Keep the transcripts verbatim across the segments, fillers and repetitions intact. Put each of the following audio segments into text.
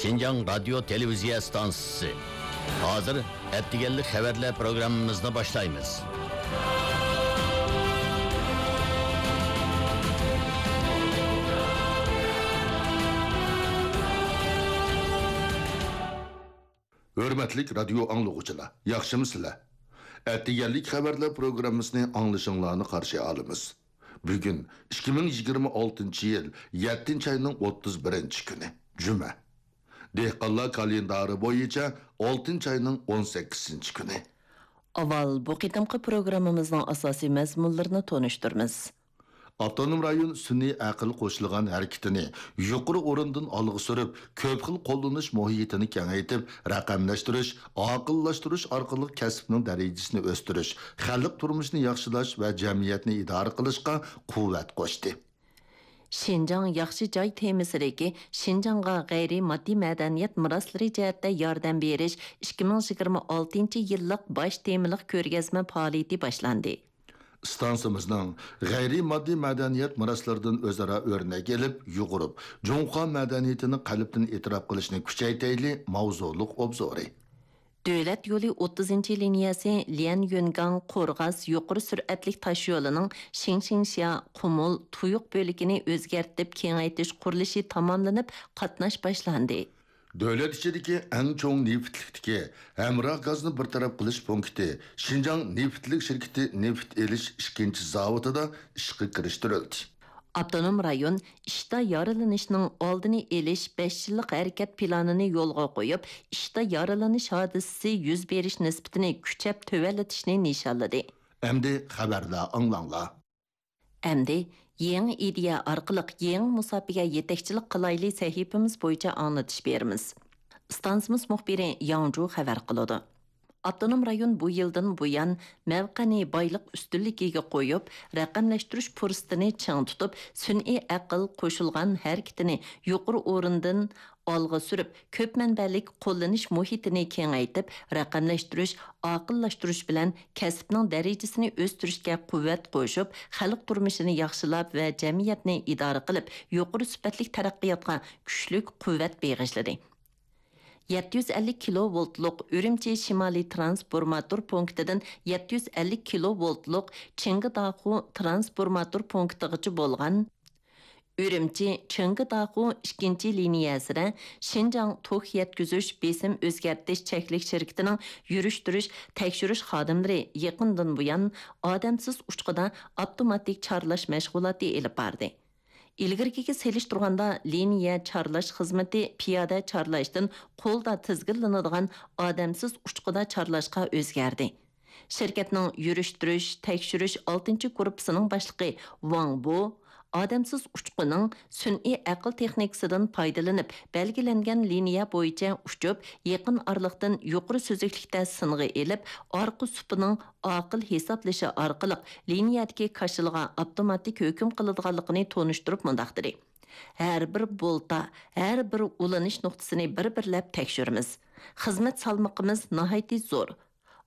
شىنجاڭ رادىيو تېلېۋىزىيە ئىستانسىسى. ھازىر ئەتىگەنلىك خەۋەرلەر پروگراممىمىزنى باشلايمىز. ھۆرمەتلىك رادىيو ئاڭلىغۇچىلار، ياخشىمۇسىلەر؟ ئەتىگەنلىك خەۋەرلەر پروگراممىسىنى ئاڭلىشىڭلارنى قارشى ئالىمىز. بۈگۈن ئىككى مىڭ يىگىرمە ئالتىنچى يىل يەتتىنچى ئاينىڭ ئوتتۇز بىرىنچى كۈنى، جۈمە. دېھقانلار كالېندارى بويىچە ئالتىنچى ئاينىڭ ئون سەككىزىنچى كۈنى. ئاۋۋال بۇ قېتىمقى پروگراممىمىزنىڭ ئاساسىي مەزمۇنلىرىنى تونۇشتۇرىمىز. ئاپتونوم رايون سۈنئىي ئەقىل قوشۇلغان ھەرىكىتىنى يۇقىرى ئورۇندىن ئالغا سۈرۈپ، كۆپ خىل قوللىنىش مۇھىتىنى كېڭەيتىپ، رەقەملەشتۈرۈش، ئاقىللاشتۇرۇش ئارقىلىق كەسىپنىڭ دەرىجىسىنى ئۆستۈرۈش، خەلق تۇرمۇشىنى ياخشىلاش ۋە جەمئىيەتنى ئىدارە قىلىشقا قۇۋۋەت قوشتى. شىنجاڭ ياخشى جاي تېمىسىدىكى شىنجاڭغا غەيرىي ماددىي مەدەنىيەت مىراسلىرى جەھەتتە ياردەم بېرىش ئىككى مىڭ يىگىرمە ئالتىنچى يىللىق باش تېمىلىق كۆرگەزمە پائالىيىتى باشلاندى. ئىستانسىمىزنىڭ غەيرىي ماددىي مەدەنىيەت مىراسلىرىدىن ئۆزئارا ئۆرنەك ئېلىپ، يۇغۇرۇپ، جۇڭخۇا مەدەنىيىتىنى قەلبتىن ئېتىراپ قىلىشنى كۈچەيتەيلى ماۋزۇلۇق ئوبزورى. دۆلەت يولى ئوتتۇزىنچى لىنىيەسى ليەنيۈنگاڭ قورغاس يۇقىرى سۈرئەتلىك تاشيولىنىڭ شىڭشىڭشيا، قۇمۇل، تۇيۇق بۆلىكىنى ئۆزگەرتىپ كېڭەيتىش قۇرۇلۇشى تاماملىنىپ، قاتناش باشلاندى. دۆلەت ئىچىدىكى ئەڭ چوڭ نېفىتلىكتىكى ھەمراھ گازنى بىر تەرەپ قىلىش پونكىتى شىنجاڭ نېفىتلىك شىركىتى نېفىت ئېلىش ئىككىنچى زاۋۇتىدا ئىشقا كىرىشتۈرۈلدى. ئاپتونوم رايون ئىشتا يارىلىنىشنىڭ ئالدىنى ئېلىش بەش يىللىق ھەرىكەت پىلانىنى يولغا قويۇپ، ئىشتا يارىلىنىش ھادىسىسى يۈز بېرىش نىسبىتىنى كۈچەپ تۆۋەنلىتىشنى نىشانلىدى. ئەمدى خەۋەرلەر ئاڭلاڭلار. ئەمدى يېڭى ئىدىيە ئارقىلىق يېڭى مۇساپىگە يېتەكچىلىك قىلايلى سەھىپىمىز بويىچە ئاڭلىتىش بېرىمىز. ئىستانسىمىز مۇخبىرى ياڭجۇ خەۋەر قىلىدۇ. ئاپتونوم رايون بۇ يىلدىن بۇيان مەۋقەنى بايلىق ئۈستۈنلۈكىگە قويۇپ، رەقەملەشتۈرۈش پۇرسىتىنى چىڭ تۇتۇپ، سۈنئىي ئەقىل قوشۇلغان ھەرىكىتىنى يۇقىرى ئورۇندىن ئالغا سۈرۈپ، كۆپ مەنبەلىك قوللىنىش مۇھىتىنى كېڭەيتىپ، رەقەملەشتۈرۈش، ئاقىللاشتۇرۇش بىلەن كەسىپنىڭ دەرىجىسىنى ئۆستۈرۈشكە قۇۋۋەت قوشۇپ، خەلق تۇرمۇشىنى ياخشىلاپ ۋە جەمئىيەتنى ئىدارە قىلىپ، يۇقىرى سۈپەتلىك تەرەققىياتقا كۈچلۈك قۇۋۋەت بېغىشلىدى. يەتتە يۈز ئەللىك كىلوۋولتلۇق ئۈرۈمچى شىمالىي ترانسفورماتور پونكىتىدىن يەتتە يۈز ئەللىك كىلوۋولتلۇق چىڭگىداخۇ ترانسفورماتور پونكىتىغىچە بولغان ئۈرۈمچى چىڭگىداخۇ ئىككىنچى لىنىيەسىدە شىنجاڭ توك يەتكۈزۈش بېسىم ئۆزگەرتىش چەكلىك شىركىتىنىڭ يۈرۈشتۈرۈش تەكشۈرۈش خادىملىرى يېقىندىن بۇيان ئادەمسىز ئۇچقۇدا ئاپتوماتىك چارلاش مەشغۇلاتى ئېلىپ باردى. ئىلگىرىكىگە سېلىشتۇرغاندا، لىنىيە چارلاش خىزمىتى پىيادە چارلاشتىن قولدا تىزگىنلىنىدىغان ئادەمسىز ئۇچقۇدا چارلاشقا ئۆزگەردى. شىركەتنىڭ يۈرۈشتۈرۈش، تەكشۈرۈش ئالتىنچى گۇرۇپپىسىنىڭ باشلىقى ۋاڭ بو، ئادەمسىز ئۇچقۇنىڭ سۈنئىي ئەقىل تېخنىكىسىدىن پايدىلىنىپ، بەلگىلەنگەن لىنىيە بويىچە ئۇچۇپ، يېقىن ئارىلىقتىن يۇقىرى سۈزۈكلۈكتە سىنغا ئېلىپ، ئارقا سۇپىنىڭ ئاقىل ھېسابلىشى ئارقىلىق لىنىيەدىكى كاشىلىغا ئاپتوماتىك ھۆكۈم قىلىدىغانلىقىنى تونۇشتۇرۇپ مۇنداق دېدى: ھەر بىر بولتا، ھەر بىر ئۇلىنىش نۇقتىسىنى بىر-بىرلەپ تەكشۈرىمىز. خىزمەت سالمىقىمىز ناھايىتى زور.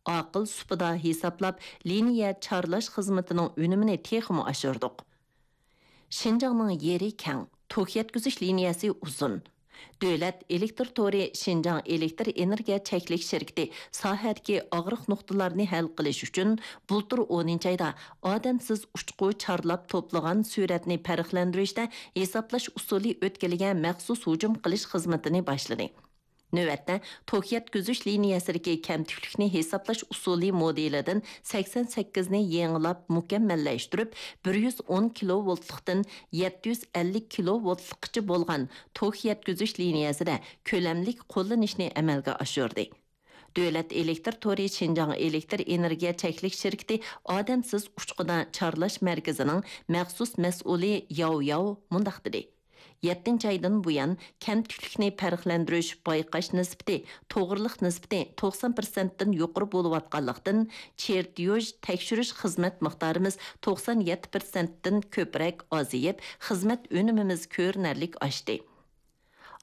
ئاقىل سۇپىدا ھېسابلاپ، لىنىيە چارلاش خىزمىتىنىڭ ئۈنۈمىنى تېخىمۇ ئاشۇردۇق. شىنجاڭنىڭ يېرى كەڭ، توك يەتكۈزۈش لىنىيەسى ئۇزۇن. دۆلەت ئېلېكتىر تورى شىنجاڭ ئېلېكتىر ئېنېرگىيە چەكلىك شىركىتى ساھەدىكى ئاغرىق نۇقتىلارنى ھەل قىلىش ئۈچۈن، بۇلتۇر ئونىنچى ئايدا ئادەمسىز ئۇچقۇ چارلاپ توپلىغان سۈرەتنى پەرقلەندۈرۈشتە ھېسابلاش ئۇسۇلى ئۆتكىلىگە مەخسۇس ھۇجۇم قىلىش خىزمىتىنى باشلىدى. نۆۋەتتە، توك يەتكۈزۈش لىنىيەسىدىكى كەمتۈكلۈكنى ھېسابلاش ئۇسۇلى مودېلىدىن سەكسەن سەككىزنى يېڭىلاپ مۇكەممەللەشتۈرۈپ، بىر يۈز ئون كىلوۋولتلۇقتىن يەتتە يۈز ئەللىك كىلوۋولتلۇققىچە بولغان توك يەتكۈزۈش لىنىيەسىدە كۆلەملىك قوللىنىشنى ئەمەلگە ئاشۇردى. دۆلەت ئېلېكتىر تورى شىنجاڭ ئېلېكتىر ئېنېرگىيە چەكلىك شىركىتى ئادەمسىز ئۇچقۇدا چارلاش مەركىزىنىڭ مەخسۇس مەسئۇلى ياۋ ياۋ مۇنداق دېدى: يەتتىنچى ئايدىن بۇيان، كەمتۈكلۈكنى پەرقلەندۈرۈش بايقاش نىسبىتى، توغرىلىق نىسبىتى توقسان پىرسەنتتىن يۇقىرى بولۇۋاتقانلىقتىن، چېرتيوژ تەكشۈرۈش خىزمەت مىقدارىمىز توقسان يەتتە پىرسەنتتىن كۆپرەك ئازىيىپ، خىزمەت ئۈنۈمىمىز كۆرۈنەرلىك ئاشتى.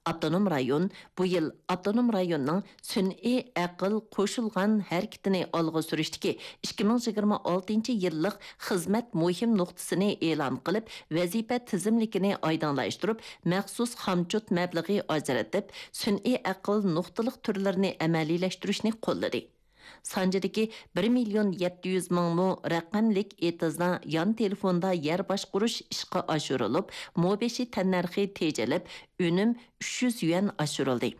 ئاپتونوم رايون بۇ يىل ئاپتونوم رايوننىڭ سۈنئىي ئەقىل قوشۇلغان ھەرىكىتىنى ئالغا سۈرۈشتىكى ئىككى مىڭ يىگىرمە ئالتىنچى يىللىق خىزمەت مۇھىم نۇقتىسىنى ئېلان قىلىپ، ۋەزىپە تىزىملىكىنى ئايدىڭلاشتۇرۇپ، مەخسۇس خامچوت مەبلىغى ئاجرىتىپ، سۈنئىي ئەقىل نۇقتىلىق تۈرلىرىنى ئەمەلىيلەشتۈرۈشنى قوللىدى. سانجىدىكى بىر مىليون يەتتە يۈز مىڭ مو رەقەملىك ئېتىزدا يان تېلېفوندا يەر باشقۇرۇش ئىشقا ئاشۇرۇلۇپ، مو بېشى تەننەرخى تېجىلىپ، ئۈنۈم ئۈچ يۈز يۈەن ئاشۇرۇلدى.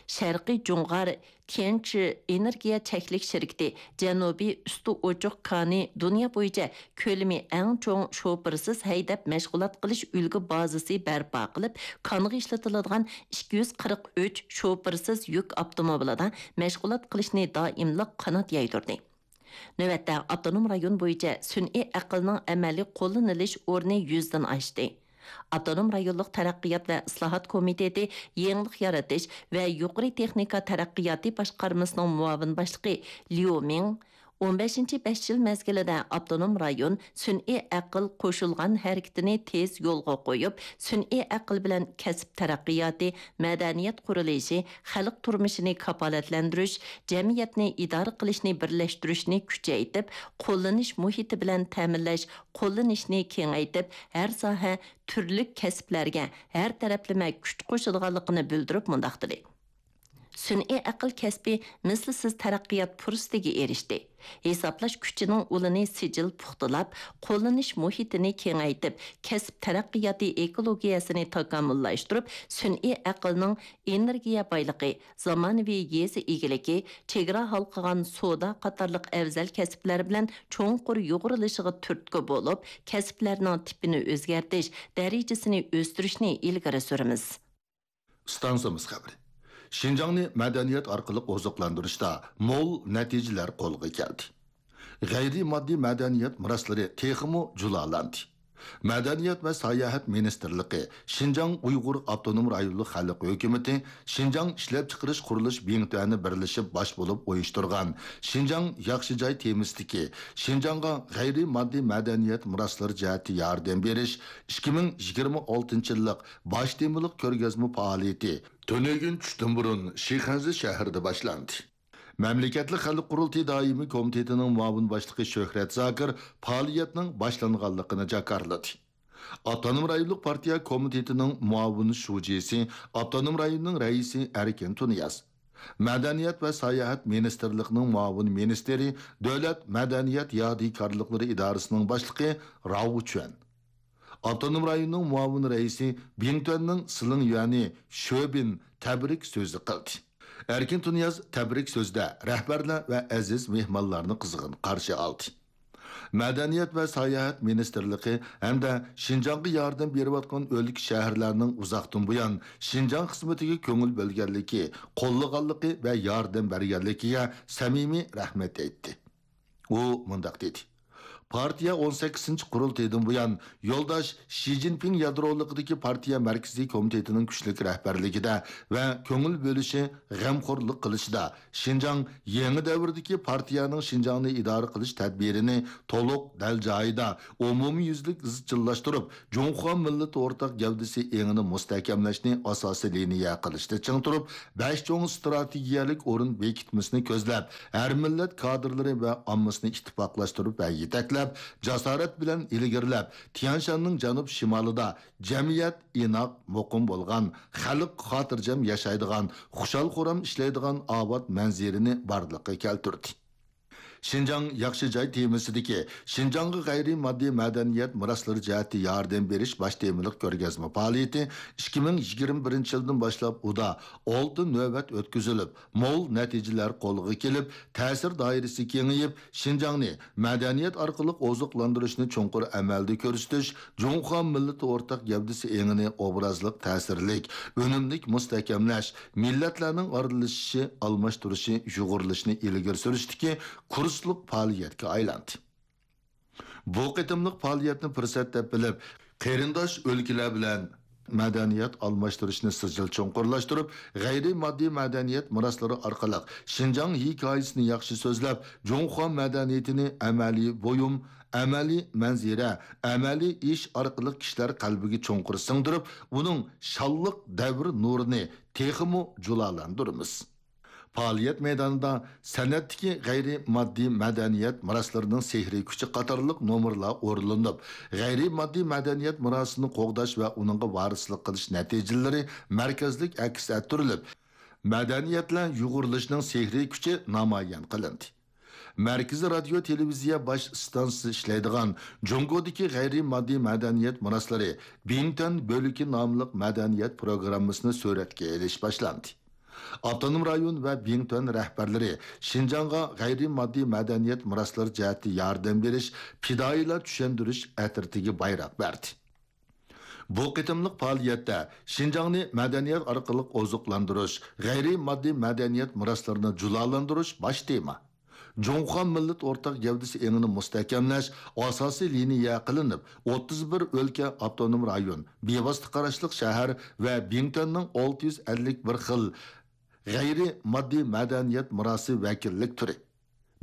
شەرقىي جۇڭغار تيەنچى ئېنېرگىيە چەكلىك شىركىتى جەنۇبىي ئۈستى ئوچۇق كانى دۇنيا بويىچە كۆلىمى ئەڭ چوڭ شوپۇرسىز ھەيدەپ مەشغۇلات قىلىش ئۈلگە بازىسى بەرپا قىلىپ، كانغا ئىشلىتىلىدىغان ئىككى يۈز قىرىق ئۈچ شوپۇرسىز يۈك ئاپتوموبىلىدا مەشغۇلات قىلىشنى دائىملىق قانات يايدۇردى. نۆۋەتتە ئاپتونوم رايون بويىچە سۈنئىي ئەقىلنىڭ ئەمەلىي قوللىنىلىش ئورنى يۈزدىن ئاشتى. ئاپتونوم رايونلۇق تەرەققىيات ۋە ئىسلاھات كومىتېتى يېڭىلىق يارىتىش ۋە يۇقىرى تېخنىكا تەرەققىياتى باشقارمىسىنىڭ مۇئاۋىن باشلىقى ليۇ مىڭ، ئون بەشىنچى بەش يىل مەزگىلىدە ئاپتونوم رايون سۈنئىي ئەقىل قوشۇلغان ھەرىكىتىنى تېز يولغا قويۇپ، سۈنئىي ئەقىل بىلەن كەسىپ تەرەققىياتى، مەدەنىيەت قۇرۇلۇشى، خەلق تۇرمۇشىنى كاپالەتلەندۈرۈش، جەمئىيەتنى ئىدارە قىلىشنى بىرلەشتۈرۈشنى كۈچەيتىپ، قوللىنىش مۇھىتى بىلەن تەمىنلەش، قوللىنىشنى كېڭەيتىپ، ھەر ساھە، تۈرلۈك كەسىپلەرگە ھەر تەرەپلىمە كۈچ قوشىدىغانلىقىنى بىلدۈرۈپ مۇنداق دېدى: سۈنئىي ئەقىل كەسپى مىسلىسىز تەرەققىيات پۇرسىتىگە ئېرىشتى. ھېسابلاش كۈچىنىڭ ئۇلىنى سىجىل پۇختىلاپ، قوللىنىش مۇھىتىنى كېڭەيتىپ، كەسىپ تەرەققىياتى ئېكولوگىيەسىنى تاكامۇللاشتۇرۇپ، سۈنئىي ئەقىلنىڭ ئېنېرگىيە بايلىقى، زامانىۋى يېزا ئىگىلىكى، چېگرا ھالقىغان سودا قاتارلىق ئەۋزەل كەسىپلەر بىلەن چوڭقۇر يۇغۇرۇلۇشىغا تۈرتكە بولۇپ، كەسىپلەرنىڭ تىپىنى ئۆزگەرتىش، دەرىجىسىنى ئۆستۈرۈشنى ئىلگىرى سۈرىمىز. ئىستانسىمىز خەۋىرى. شىنجاڭنى مەدەنىيەت ئارقىلىق ئوزۇقلاندۇرۇشتا مول نەتىجىلەر قولغا كەلدى. غەيرىي ماددىي مەدەنىيەت مىراسلىرى تېخىمۇ جۇلالاندى. مەدەنىيەت ۋە ساياھەت مىنىستىرلىقى، شىنجاڭ ئۇيغۇر ئاپتونوم رايونلۇق خەلق ھۆكۈمىتى، شىنجاڭ ئىشلەپچىقىرىش قۇرۇلۇش بىڭتۈەنى بىرلىشىپ باش بولۇپ ئۇيۇشتۇرغان شىنجاڭ ياخشى جاي تېمىسىدىكى شىنجاڭغا غەيرىي ماددىي مەدەنىيەت مىراسلىرى جەھەتتە ياردەم بېرىش ئىككى مىڭ يىگىرمە ئالتىنچى يىللىق باش تېمىلىق كۆرگەزمە پائالىيىتى تۈنۈگۈن چۈشتىن بۇرۇن شىخەنزە شەھىرىدە باشلاندى. مەملىكەتلىك خەلق قۇرۇلتىيى دائىمىي كومىتېتىنىڭ مۇئاۋىن باشلىقى شۆھرەت زاكىر پائالىيەتنىڭ باشلانغانلىقىنى جاكارلىدى. ئاپتونوم رايونلۇق پارتىيە كومىتېتىنىڭ مۇئاۋىن شۇجىسى، ئاپتونوم رايوننىڭ رەئىسى ئەركىن تۇنىياز، مەدەنىيەت ۋە ساياھەت مىنىستىرلىقىنىڭ مۇئاۋىن مىنىستىرى، دۆلەت مەدەنىيەت يادىكارلىقلىرى ئىدارىسىنىڭ باشلىقى راۋۇ چۈەن، ئاپتونوم رايوننىڭ مۇئاۋىن رەئىسى، بىڭتۈەننىڭ سىلىڭ يۈەنى شۆبىن تەبرىك سۆزى قىلدى. ئەركىن تۇنىياز تەبرىك سۆزىدە رەھبەرلەر ۋە ئەزىز مېھمانلارنى قىزغىن قارشى ئالدى. مەدەنىيەت ۋە ساياھەت مىنىستىرلىقى ھەمدە شىنجاڭغا ياردەم بېرىۋاتقان ئۆلكە، شەھەرلەرنىڭ ئۇزاقتىن بۇيان شىنجاڭ خىزمىتىگە كۆڭۈل بۆلگەنلىكى، قوللىغانلىقى ۋە ياردەم بەرگەنلىكىگە سەمىمىي رەھمەت ئېيتتى. ئۇ مۇنداق دېدى: پارتىيە ئون سەككىزىنچى قۇرۇلتىيىدىن بۇيان يولداش شى جىنپىڭ يادرولۇقىدىكى پارتىيە مەركىزىي كومىتېتىنىڭ كۈچلۈك رەھبەرلىكىدە ۋە كۆڭۈل بۆلۈشى، غەمخورلۇق قىلىشىدا شىنجاڭ يېڭى دەۋردىكى پارتىيەنىڭ شىنجاڭنى ئىدارە قىلىش تەدبىرىنى تولۇق، دەل جايىدا، ئومۇميۈزلۈك ئىزچىللاشتۇرۇپ، جۇڭخۇا مىللىتى ئورتاق گەۋدىسى ئېڭىنى مۇستەھكەملەشنى ئاساسىي لىنىيە قىلىشتا چىڭ تۇرۇپ، بەش چوڭ ئىستراتېگىيەلىك ئورۇن بېكىتمىسىنى كۆزلەپ، ھەر مىللەت كادىرلىرى ۋە ئاممىسىنى ئىتتىپاقلاشتۇرۇپ ۋە يېتەكلەپ، جاسارەت بىلەن ئىلگىرىلەپ، تيەنشاننىڭ جەنۇب شىمالىدا جەمئىيەت ئىناق، مۇقىم بولغان، خەلق خاتىرجەم ياشايدىغان، خۇشال-خۇرام ئىشلەيدىغان ئاۋات مەنزىرىنى بارلىققا كەلتۈردى. شىنجاڭ ياخشى جاي تېمىسىدىكى شىنجاڭغا غەيرىي ماددىي مەدەنىيەت مىراسلىرى جەھەتتە ياردەم بېرىش باش تېمىلىق كۆرگەزمە پائالىيىتى ئىككى مىڭ يىگىرمە بىرىنچى يىلدىن باشلاپ ئۇدا ئالتە نۆۋەت ئۆتكۈزۈلۈپ، مول نەتىجىلەر قولغا كېلىپ، تەسىر دائىرىسى كېڭىيىپ، شىنجاڭنى مەدەنىيەت ئارقىلىق ئوزۇقلاندۇرۇشنى چوڭقۇر ئەمەلدە كۆرسىتىش، جۇڭخۇا مىللىتى ئورتاق گەۋدىسى ئېڭىنى ئوبرازلىق، تەسىرلىك، ئۈنۈملۈك مۇستەھكەملەش، مىللەتلەرنىڭ ئارىلىشىشى، ئالماشتۇرۇشى، يۇغۇرۇلۇشىنى ئىلگىرى سۈرۈشتىكى كۇرسلۇق پائالىيەتكە ئايلاندى. بۇ قېتىملىق پائالىيەتنى پۇرسەت دەپ بىلىپ، قېرىنداش ئۆلكىلەر بىلەن مەدەنىيەت ئالماشتۇرۇشنى سىجىل چوڭقۇرلاشتۇرۇپ، غەيرىي ماددىي مەدەنىيەت مىراسلىرى ئارقىلىق شىنجاڭ ھېكايىسىنى ياخشى سۆزلەپ، جۇڭخۇا مەدەنىيىتىنى ئەمەلىي بۇيۇم، ئەمەلىي مەنزىرە، ئەمەلىي ئىش ئارقىلىق كىشىلەر قەلبىگە چوڭقۇر سىڭدۈرۈپ، ئۇنىڭ شانلىق دەۋر نۇرىنى تېخىمۇ جۇلالاندۇرىمىز. پائالىيەت مەيدانىدا سەنئەتتىكى غەيرىي ماددىي مەدەنىيەت مىراسلىرىنىڭ سېھرىي كۈچى قاتارلىق نومۇرلار ئورۇنلىنىپ، غەيرىي ماددىي مەدەنىيەت مىراسىنى قوغداش ۋە ئۇنىڭغا ۋارىسلىق قىلىش نەتىجىلىرى مەركەزلىك ئەكس ئەتتۈرۈلۈپ، مەدەنىيەتلەر يۇغۇرۇلۇشىنىڭ سېھرىي كۈچى نامايان قىلىندى. مەركىزىي رادىيو تېلېۋىزىيە باش ئىستانسىسى ئىشلەيدىغان جۇڭگودىكى غەيرىي ماددىي مەدەنىيەت مىراسلىرى بىڭتۈەن بۆلىكى ناملىق مەدەنىيەت پروگراممىسىنى سۈرەتكە ئېلىش باشلاندى. ئاپتونوم رايون ۋە بىڭتۈەن رەھبەرلىرى شىنجاڭغا غەيرىي ماددىي مەدەنىيەت مىراسلىرى جەھەتتە ياردەم بېرىش، پىدائىيلار چۈشەندۈرۈش ئەترىتىگە بايراق بەردى. بۇ قېتىملىق پائالىيەتتە شىنجاڭنى مەدەنىيەت ئارقىلىق ئوزۇقلاندۇرۇش، غەيرىي ماددىي مەدەنىيەت مىراسلىرىنى جۇلالاندۇرۇش باش تېما. جۇڭخۇا مىللەت ئورتاق گەۋدىسى ئېڭىنى مۇستەھكەملەش ئاساسىي لىنىيە قىلىنىپ، ئوتتۇز بىر ئۆلكە، ئاپتونوم رايون، بىۋاسىتە قاراشلىق شەھەر ۋە بىڭتۈەننىڭ ئالتە يۈز ئەللىك بىر خىل غەيرىي ماددىي مەدەنىيەت مىراسى ۋەكىللىك تۈرى،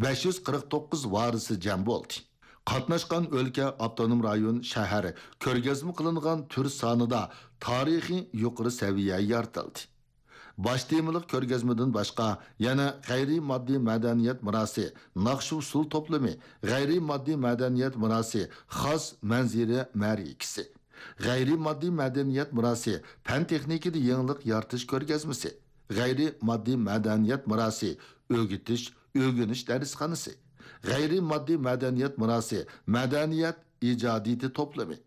بەش يۈز قىرىق توققۇز ۋارىسى جەم بولدى. قاتناشقان ئۆلكە، ئاپتونوم رايون، شەھەر كۆرگەزمە قىلىنغان تۈر سانىدا تارىخىي يۇقىرى سەۋىيە يارىتىلدى. باش تېمىلىق كۆرگەزمىدىن باشقا، يەنە غەيرىي ماددىي مەدەنىيەت مىراسى، ناخشا-ئۇسسۇل توپلىمى، غەيرىي ماددىي مەدەنىيەت مىراسى، خاس مەنزىرە مەرىكىسى، غەيرىي ماددىي مەدەنىيەت مىراسى، پەن-تېخنىكىدا يېڭىلىق يارىتىش كۆرگەزمىسى، غەيرىي ماددىي مەدەنىيەت مىراسى، ئۆگىتىش، ئۆگىنىش دەرسخانىسى، غەيرىي ماددىي مەدەنىيەت مىراسى، مەدەنىيەت ئىجادىيىتى توپلىمى،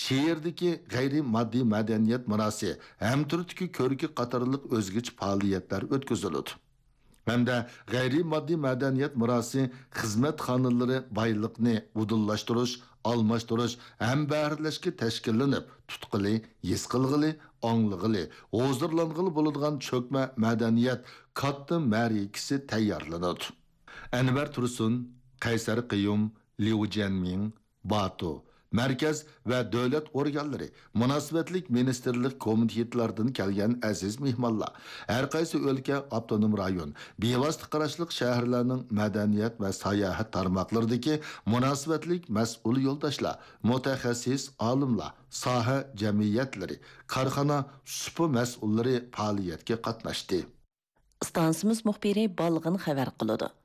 شېئىردىكى غەيرىي ماددىي مەدەنىيەت مىراسى، ھەمتۈرتۈكى كۆركى قاتارلىق ئۆزگىچە پائالىيەتلەر ئۆتكۈزۈلىدۇ. ھەمدە غەيرىي ماددىي مەدەنىيەت مىراسى خىزمەتخانىلىرى بايلىقنى ئۇدۇللاشتۇرۇش، ئالماشتۇرۇش، ھەمبەھىرلەشكە تەشكىللىنىپ، تۇتقىلى، ھېس قىلغىلى، ئاڭلىغىلى، ھۇزۇرلانغىلى بولىدىغان چۆكمە مەدەنىيەت كاتتا مەرىكىسى تەييارلىنىدۇ. ئەنۋەر تۇرسۇن، قەيسەر قېيۇم، ليۇ جيەنمىڭ، باتۇ، مەركەز ۋە دۆلەت ئورگانلىرى، مۇناسىۋەتلىك مىنىستىرلىق كومىتېتلاردىن كەلگەن ئەزىز مېھمانلار، ھەر قايسى ئۆلكە، ئاپتونوم رايون، بىۋاسىتە قاراشلىق شەھەرلەرنىڭ مەدەنىيەت ۋە ساياھەت تارماقلىرىدىكى مۇناسىۋەتلىك مەسئۇل يولداشلار، مۇتەخەسسىس ئالىملار، ساھە جەمئىيەتلىرى، كارخانا، سۇپا مەسئۇللىرى پائالىيەتكە قاتناشتى. ئىستانسىمىز مۇخبىرى بالغىن خەۋەر قىلىدۇ.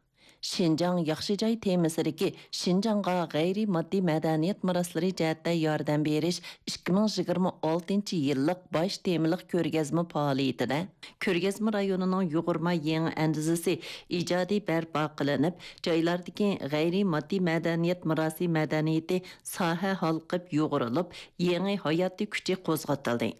شىنجاڭ ياخشى جاي تېمىسىدىكى شىنجاڭغا غەيرىي ماددىي مەدەنىيەت مىراسلىرى جەھەتتە ياردەم بېرىش ئىككى مىڭ يىگىرمە ئالتىنچى يىللىق باش تېمىلىق كۆرگەزمە پائالىيىتىدە، كۆرگەزمە رايونىنىڭ يۇغۇرما يېڭى ئەندىزىسى ئىجادىي بەرپا قىلىنىپ، جايلاردىكى غەيرىي ماددىي مەدەنىيەت مىراسى مەدەنىيىتى ساھە ھالقىپ يۇغۇرۇلۇپ، يېڭى ھاياتىي كۈچى قوزغىتىلدى.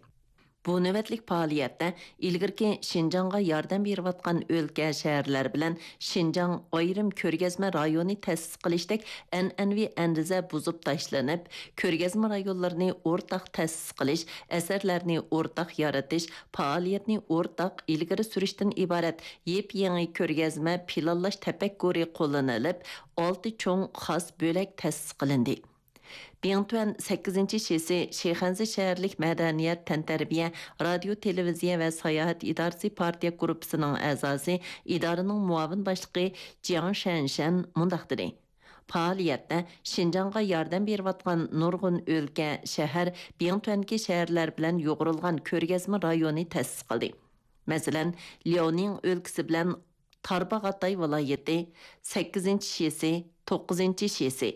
بۇ نۆۋەتلىك پائالىيەتتە ئىلگىرىكى شىنجاڭغا ياردەم بېرىۋاتقان ئۆلكە، شەھەرلەر بىلەن شىنجاڭ ئايرىم كۆرگەزمە رايونى تەسىس قىلىشتەك ئەنئەنىۋى ئەندىزە بۇزۇپ تاشلىنىپ، كۆرگەزمە رايونلىرىنى ئورتاق تەسىس قىلىش، ئەسەرلەرنى ئورتاق يارىتىش، پائالىيەتنى ئورتاق ئىلگىرى سۈرۈشتىن ئىبارەت يېپيېڭى كۆرگەزمە پىلانلاش تەپەككۇرى قوللىنىلىپ، ئالتە چوڭ خاس بۆلەك تەسىس قىلىندى. بىڭتۈەن سەككىزىنچى شىسى شىخەنزە شەھەرلىك مەدەنىيەت، تەنتەربىيە، رادىيو، تېلېۋىزىيە ۋە ساياھەت ئىدارىسى پارتىيە گۇرۇپپىسىنىڭ ئەزاسى، ئىدارىنىڭ مۇئاۋىن باشلىقى جياڭ شەنشەن مۇنداق دېدى: پائالىيەتتە شىنجاڭغا ياردەم بېرىۋاتقان نۇرغۇن ئۆلكە، شەھەر، بىڭتۈەندىكى شەھەرلەر بىلەن يۇغۇرۇلغان كۆرگەزمە رايونى تەسىس قىلدى. مەسىلەن، لياۋنىڭ ئۆلكىسى بىلەن تارباغاتاي ۋىلايىتى، سەككىزىنچى شىسى، توققۇزىنچى شىسى،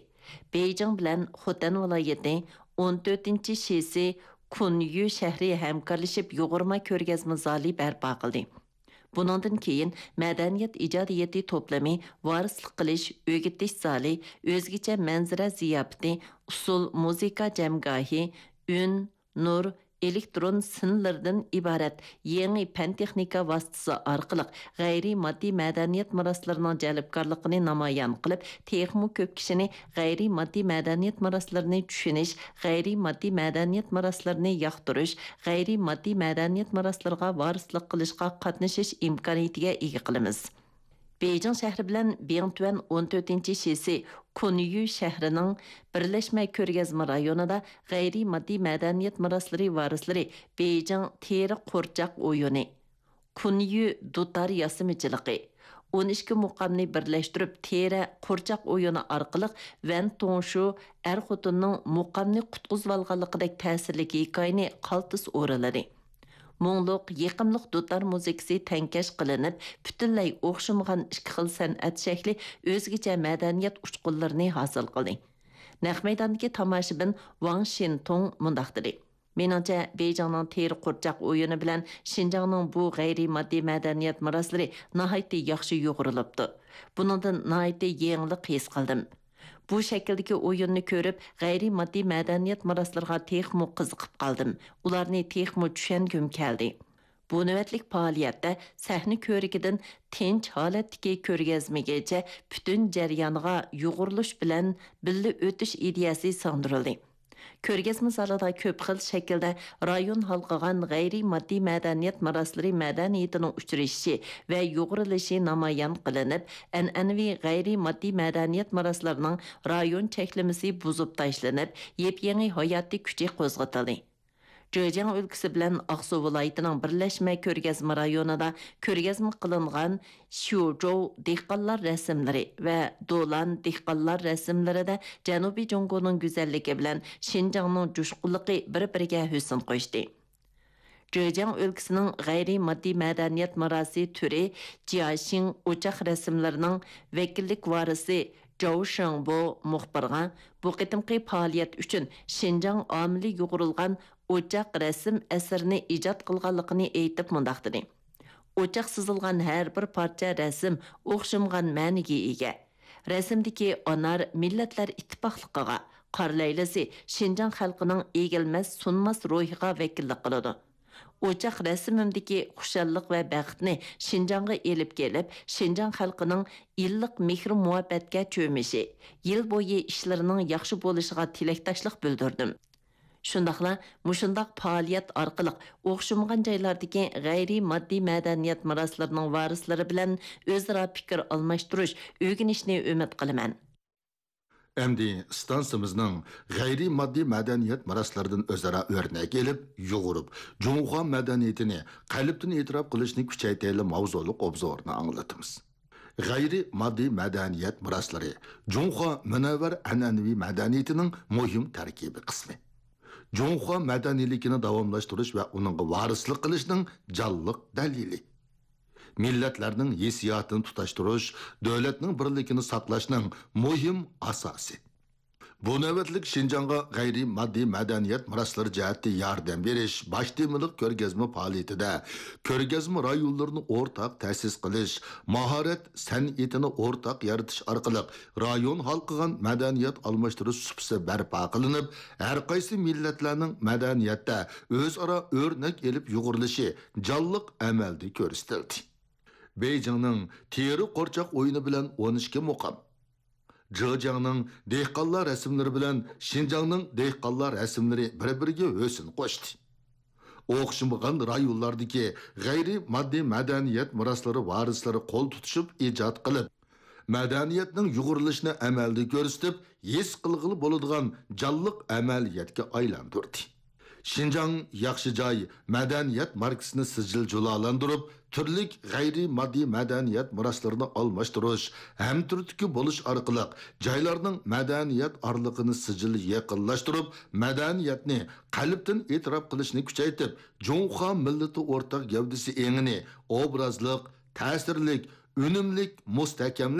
بېيجىڭ بىلەن خوتەن ۋىلايىتى، ئون تۆتىنچى شىسى، كۇنيۈ شەھىرى ھەمكارلىشىپ يۇغۇرما كۆرگەزمە زالى بەرپا قىلدى. بۇنىڭدىن كېيىن مەدەنىيەت ئىجادىيىتى توپلىمى، ۋارىسلىق قىلىش، ئۆگىتىش زالى، ئۆزگىچە مەنزىرە زىياپىتى، ئۇسسۇل مۇزىكا جەمگاھى، ئۈن، نۇر، ئېلېكترون سىنلىرىدىن ئىبارەت يېڭى پەن-تېخنىكا ۋاسىتىسى ئارقىلىق غەيرىي ماددىي مەدەنىيەت مىراسلىرىنىڭ جەلپكارلىقىنى نامايان قىلىپ، تېخىمۇ كۆپ كىشىنى غەيرىي ماددىي مەدەنىيەت مىراسلىرىنى چۈشىنىش، غەيرىي ماددىي مەدەنىيەت مىراسلىرىنى ياقتۇرۇش، غەيرىي ماددىي مەدەنىيەت مىراسلىرىغا ۋارىسلىق قىلىشقا قاتنىشىش ئىمكانىيىتىگە ئىگە قىلىمىز. بېيجىڭ شەھىرى بىلەن بىڭتۈەن ئون تۆتىنچى شىسى كۇنيۈ شەھىرىنىڭ بىرلەشمە كۆرگەزمە رايونىدا غەيرىي ماددىي مەدەنىيەت مىراسلىرى ۋارىسلىرى بېيجىڭ تېرە قورچاق ئويۇنى، كۇنيۈ دۇتار ياسىمىچىلىقى، ئون ئىككى مۇقامنى بىرلەشتۈرۈپ، تېرە، قورچاق ئويۇنى ئارقىلىق ۋەن توڭشۇ ئەر-خوتۇننىڭ مۇقامنى قۇتقۇزۇۋالغانلىقىدەك تەسىرلىك ھېكايىنى قالتىس ئورىلىدى. مۇڭلۇق، يېقىملىق دۇتار مۇزىكىسى تەڭكەش قىلىنىپ، پۈتۈنلەي ئوخشىمىغان ئىككى خىل سەنئەت شەكلى ئۆزگىچە مەدەنىيەت ئۇچقۇنلىرىنى ھاسىل قىلدى. نەق مەيداندىكى تاماشىبىن ۋاڭ شىنتۇڭ مۇنداق دېدى: مېنىڭچە، بېيجىڭنىڭ تېرە قورچاق ئويۇنى بىلەن شىنجاڭنىڭ بۇ غەيرىي ماددىي مەدەنىيەت مىراسلىرى ناھايىتى ياخشى يۇغۇرۇلۇپتۇ. بۇنىڭدىن ناھايىتى يېڭىلىق ھېس قىلدىم. بۇ شەكىلدىكى ئويۇننى كۆرۈپ، غەيرىي ماددىي مەدەنىيەت مىراسلىرىغا تېخىمۇ قىزىقىپ قالدىم، ئۇلارنى تېخىمۇ چۈشەنگۈم كەلدى. بۇ نۆۋەتلىك پائالىيەتتە سەھنە كۆرىكىدىن تىنچ ھالەتتىكى كۆرگەزمىگىچە پۈتۈن جەريانغا يۇغۇرۇلۇش بىلەن بىللە ئۆتۈش ئىدىيەسى سىڭدۈرۈلدى. كۆرگەزمە زالىدا كۆپ خىل شەكىلدە رايون ھالقىغان غەيرىي ماددىي مەدەنىيەت مىراسلىرى مەدەنىيىتىنىڭ ئۇچرىشىشى ۋە يۇغۇرۇلۇشى نامايان قىلىنىپ، ئەنئەنىۋى غەيرىي ماددىي مەدەنىيەت مىراسلىرىنىڭ رايون چەكلىمىسى بۇزۇپ تاشلىنىپ، يېپيېڭى ھاياتىي كۈچى قوزغىتىلدى. جېجياڭ ئۆلكىسى بىلەن ئاقسۇ ۋىلايىتىنىڭ بىرلەشمە كۆرگەزمە رايونىدا كۆرگەزمە قىلىنغان شيۇجوۋ دېھقانلار رەسىملىرى ۋە دولان دېھقانلار رەسىملىرىدە جەنۇبىي جۇڭگونىڭ گۈزەللىكى بىلەن شىنجاڭنىڭ جۇشقۇنلۇقى بىر-بىرىگە ھۆسن قوشتى. جېجياڭ ئۆلكىسىنىڭ غەيرىي ماددىي مەدەنىيەت مىراسى تۈرى جياشىڭ ئوچاق رەسىملىرىنىڭ ۋەكىللىك ۋارىسى جاۋ شېڭبو مۇخبىرغا بۇ قېتىمقى پائالىيەت ئۈچۈن شىنجاڭ ئامىلى يۇغۇرۇلغان ئوچاق رەسىم ئەسىرىنى ئىجاد قىلغانلىقىنى ئېيتىپ مۇنداق دېدى: ئوچاق سىزىلغان ھەر بىر پارچە رەسىم ئوخشىمىغان مەنىگە ئىگە. رەسىمدىكى ئانار مىللەتلەر ئىتتىپاقلىقىغا، قار لەيلىسى شىنجاڭ خەلقىنىڭ ئېگىلمەس، سۇنماس روھىغا ۋەكىللىك قىلىدۇ. ئوچاق رەسىمىمدىكى خۇشاللىق ۋە بەختنى شىنجاڭغا ئېلىپ كېلىپ، شىنجاڭ خەلقىنىڭ ئىللىق مېھرى-مۇھەببەتكە چۆمۈشى، يىل بويى ئىشلىرىنىڭ ياخشى بولۇشىغا تىلەكداشلىق بىلدۈردۈم. شۇنداقلا مۇشۇنداق پائالىيەت ئارقىلىق ئوخشىمىغان جايلاردىكى غەيرىي ماددىي مەدەنىيەت مىراسلىرىنىڭ ۋارىسلىرى بىلەن ئۆزئارا پىكىر ئالماشتۇرۇش، ئۆگىنىشنى ئۈمىد قىلىمەن. ئەمدى ئىستانسىمىزنىڭ غەيرىي ماددىي مەدەنىيەت مىراسلىرىدىن ئۆزئارا ئۆرنەك ئېلىپ، يۇغۇرۇپ، جۇڭخۇا مەدەنىيىتىنى قەلبتىن ئېتىراپ قىلىشنى كۈچەيتەيلى ماۋزۇلۇق ئوبزورنى ئاڭلىتىمىز. غەيرىي ماددىي مەدەنىيەت مىراسلىرى جۇڭخۇا مۇنەۋۋەر ئەنئەنىۋى مەدەنىيىتىنىڭ مۇھىم تەركىبىي قىسمى. جۇڭخۇا مەدەنىيلىكىنى داۋاملاشتۇرۇش ۋە ئۇنىڭغا ۋارىسلىق قىلىشنىڭ جانلىق دەلىلى. مىللەتلەرنىڭ ھېسسىياتىنى تۇتاشتۇرۇش، دۆلەتنىڭ بىرلىكىنى ساقلاشنىڭ مۇھىم ئاساسى. بۇ نۆۋەتلىك شىنجاڭغا غەيرىي ماددىي مەدەنىيەت مىراسلىرى جەھەتتە ياردەم بېرىش باش تېمىلىق كۆرگەزمە پائالىيىتىدە، كۆرگەزمە رايونلىرىنى ئورتاق تەسىس قىلىش، ماھارەت سەنئىتىنى ئورتاق يارىتىش ئارقىلىق رايون ھالقىغان مەدەنىيەت ئالماشتۇرۇش سۇپىسى بەرپا قىلىنىپ، ھەرقايسى مىللەتلەرنىڭ مەدەنىيەتتە ئۆزئارا ئۆرنەك ئېلىپ يۇغۇرۇلۇشى جانلىق ئەمەلدە كۆرسىتىلدى. بېيجىڭنىڭ تېرە قورچاق ئويۇنى بىلەن ئون ئىككى مۇقام، جېجياڭنىڭ دېھقانلار رەسىملىرى بىلەن شىنجاڭنىڭ دېھقانلار رەسىملىرى بىر-بىرىگە ھۆسن قوشتى. ئوخشىمىغان رايونلاردىكى غەيرىي ماددىي مەدەنىيەت مىراسلىرى ۋارىسلىرى قول تۇتۇشۇپ ئىجاد قىلىپ، مەدەنىيەتنىڭ يۇغۇرۇلۇشىنى ئەمەلدە كۆرسىتىپ، ھېس قىلغىلى بولىدىغان جانلىق ئەمەلىيەتكە ئايلاندۇردى. شىنجاڭ ياخشى جاي مەدەنىيەت ماركىسىنى سىجىل جۇلالاندۇرۇپ، تۈرلۈك غەيرىي ماددىي مەدەنىيەت مىراسلىرىنى ئالماشتۇرۇش، ھەمتۈرتكە بولۇش ئارقىلىق جايلارنىڭ مەدەنىيەت ئارىلىقىنى سىجىل يېقىنلاشتۇرۇپ، مەدەنىيەتنى قەلبتىن ئېتىراپ قىلىشنى كۈچەيتىپ، جۇڭخۇا مىللىتى ئورتاق گەۋدىسى ئېڭىنى ئوبرازلىق، تەسىرلىك، ئۈنۈملۈك، مۇستەھكەملەش